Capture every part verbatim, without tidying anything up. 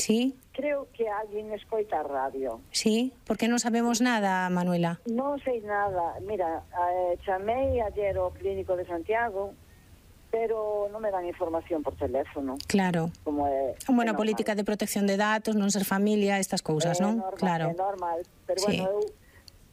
Sí. Creo que alguén escoita a radio. Sí, porque non sabemos nada, Manuela. Non sei nada. Mira, eh, chamei ayer ao clínico de Santiago, pero non me dan información por teléfono. Claro. Como é, Bueno, é política de protección de datos, non ser familia, estas cousas, é non? Normal, Claro. É normal, pero Sí. bueno, eu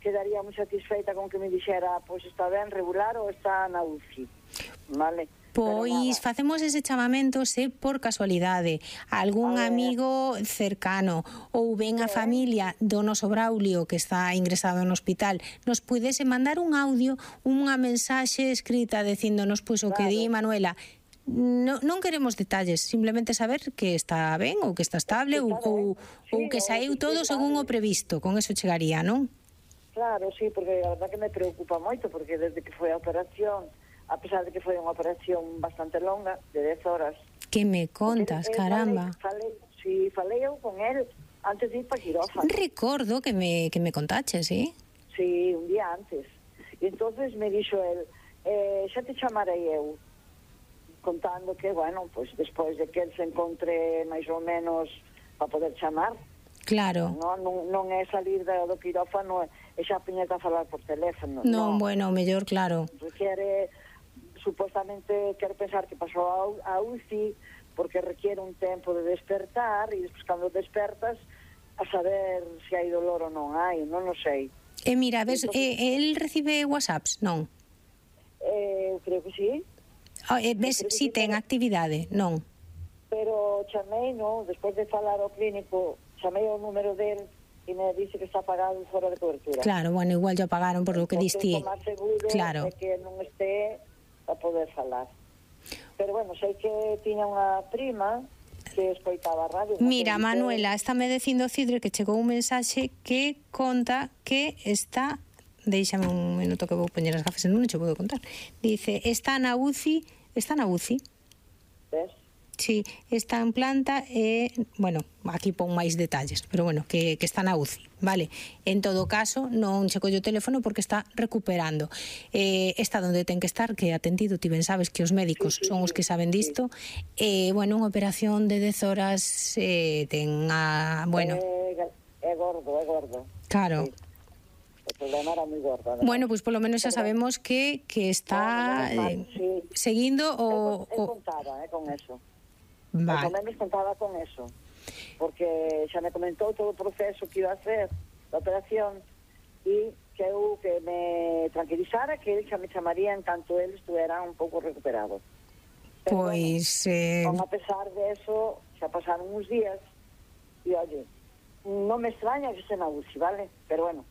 quedaría moi satisfeita con que me dixera, pois está ben regular ou está na U C I, vale? Pois facemos ese chamamento se por casualidade algún amigo cercano ou ben a familia do noso Braulio que está ingresado no hospital nos pudese mandar un audio, unha mensaxe escrita dicíndonos pois o que di Manuela. No, non queremos detalles, simplemente saber que está ben ou que está estable ou, ou, ou que saíu todo según o previsto, con eso chegaría, non? Claro, sí, porque a verdad que me preocupa moito, porque desde que foi a operación, a pesar de que foi unha operación bastante longa, de dez horas. Que me contas, porque, eh, caramba. Falei, falei, sí, falei eu con él antes de ir para quirófano. Recordo que me, que me contaches, sí? Sí, un día antes. E entonces me dixo él, eh, xa te chamarei eu, contando que, bueno, pues despois de que él se encontre máis ou menos para poder chamar. Claro. Non, non, non é salir do, do quirófano e xa piñeta a falar por teléfono. Non, no. bueno, mellor, claro. Requiere, supuestamente, quero pensar que pasou a U C I porque requiere un tempo de despertar e despois cando despertas a saber se hai dolor ou non hai, non o sei. E mira, ves, entonces, eh, el recibe whatsapps, non? Eh, creo que sí. Oh, eh, ves, si sí, ten pero, actividade, non? Pero chamei, non, despois de falar ao clínico, chamei o número del e me dice que está apagado fora de cobertura. Claro, bueno, igual ya pagaron por lo que diste. O máis seguro claro. é que non este a poder falar. Pero bueno, sei que tiña unha prima que escoitaba a radio. Mira, Manuela, estáme dicindo Cidre que chegou un mensaxe que conta que está... Deixame un minuto que vou poñer as gafas, non che podo contar. Dice, está na U C I, está na U C I. Ves? Sí, está en planta e, bueno, aquí pon máis detalles, pero bueno, que, que está na U C I, vale? En todo caso, non che collo o teléfono porque está recuperando. Eh, está onde ten que estar, que atendido, ti ben sabes que os médicos sí, sí, son os que saben disto. Sí. Eh, bueno, unha operación de dez horas eh, ten a, bueno... É, é gordo, é gordo. Claro. Sí. O problema era moi gordo. Además. Bueno, pois pues, polo menos xa sabemos que, que está no, no, eh, sí. seguindo o... Eu, eu contaba eh, con eso. Vale. Por lo menos contaba con eso. Porque xa me comentou todo o proceso que iba a hacer da operación e que eu que me tranquilizara que ele xa me chamaría en tanto ele estuera un pouco recuperado. Pero, pois... Bueno, eh... a pesar de eso, xa pasaron uns días e, oye, non me extraña que se na U C I, vale? Pero bueno,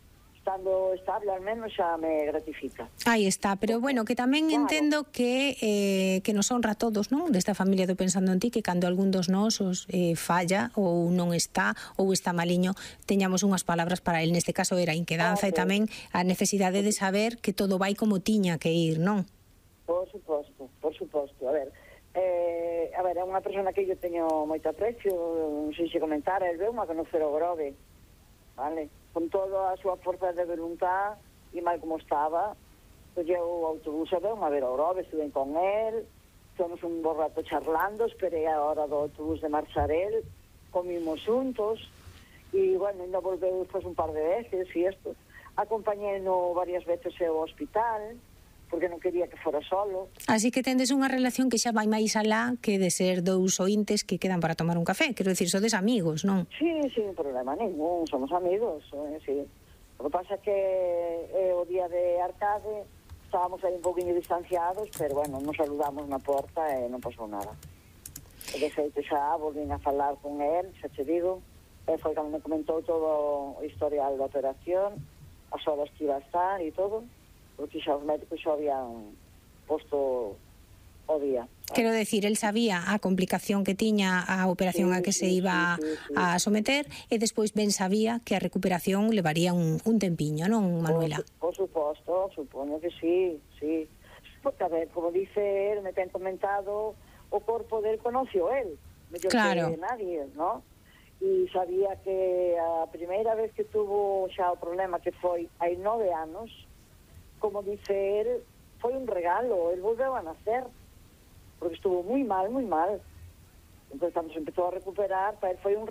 estando estable, al menos xa me gratifica. Aí está, pero bueno, que tamén claro. entendo que eh, que nos honra a todos, non? Desta familia do Pensando en Ti, que cando algún dos nosos eh, falla ou non está ou está maliño, teñamos unhas palabras para el. Neste caso era a inquedanza claro. E tamén a necesidade de saber que todo vai como tiña que ir, non? Por suposto, por suposto. A ver, eh, a ver, é unha persona que eu teño moito aprecio, non sei se comentar, el veu má conocer o Grove, vale? Con toda a súa forza de voluntad e mal como estaba, colleu o autobús e veu a ver o Grove, estuve con él, fomos un bo rato charlando, esperei a hora do autobús de marchar él, comimos juntos, e, bueno, ainda volveu despois un par de veces, e isto, acompañei no varias veces ao hospital, porque non quería que fora solo. Así que tendes unha relación que xa vai máis alá que de ser dous ointes que quedan para tomar un café. Quero dicir, sodes amigos, non? Sí, sin problema ningún, somos amigos, eh, sí. O que pasa que eh, o día de Arcade estábamos aí un poquinho distanciados, pero bueno, nos saludamos na porta e non pasou nada. E de feito xa volvín a falar con él, xa te digo, e foi cando me comentou todo o historial da operación, as horas que iba a estar e todo, porque xa os médicos xa habían posto o día. ¿sabes? Quero decir, el sabía a complicación que tiña a operación sí, a que sí, se iba sí, sí, sí. a someter e despois ben sabía que a recuperación levaría un, un tempiño, non, Manuela? Por, por suposto, supoño que sí, sí. Porque, a ver, como dice él, me ten comentado, o corpo del conoció él, mellor claro. que nadie, ¿no? E sabía que a primeira vez que tuvo xa o problema que foi hai nove anos, como dice él, foi un regalo, él volveu a nacer, porque estuvo moi mal, moi mal. Entón, cando se empezou a recuperar, para él foi un regalo.